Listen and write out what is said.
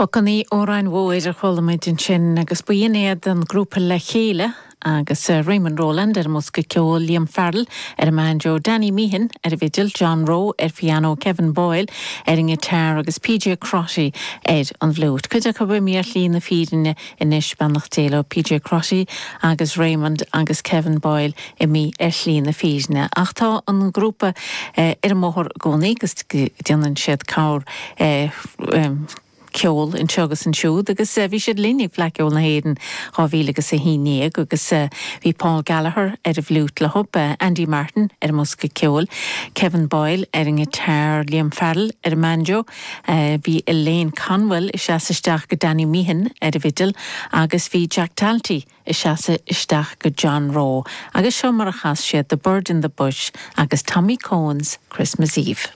Pocannaí ó Ráin Mhóir a chuala muid ansin agus b'in iad an grúpa Le Chéile agus Raymond Rowland ar an mbosca ceoil, Liam Farrell ar an mbanjo, Danny Meehan ar an bhfidil, John Rowe ar phianó, Kevin Boyle ar an ngiotár agus PJ Crotty ar an bhfliúit. Cuid acu imithe ar shlí na fírinne anois, beannacht Dé leo, PJ Crotty agus Raymond agus Kevin Boyle imithe ar shlí na fírinne. Ach tá an grúpa ar an mbóthar i gcónaí agus déanann siad corr ceol anseo agus ansiúd agus bhí siad linn ag Fleadh Cheoil na hÉireann 2000 agus 11 agus bhí Paul Gallagher ar an bhfliúit leo, Andy Martin ar an mbosca ceoil, Kevin Boyle ar an ngiotár, Liam Farrell ar an mbanjo, bhí Elaine Conwell ag seasamh isteach go Danny Meehan ar an bhfidil agus bhí Jack Talty ag seasamh isteach go John Rowe agus seo mar a chas siad The Bird in the Bush agus Tommy Coen's Christmas Eve.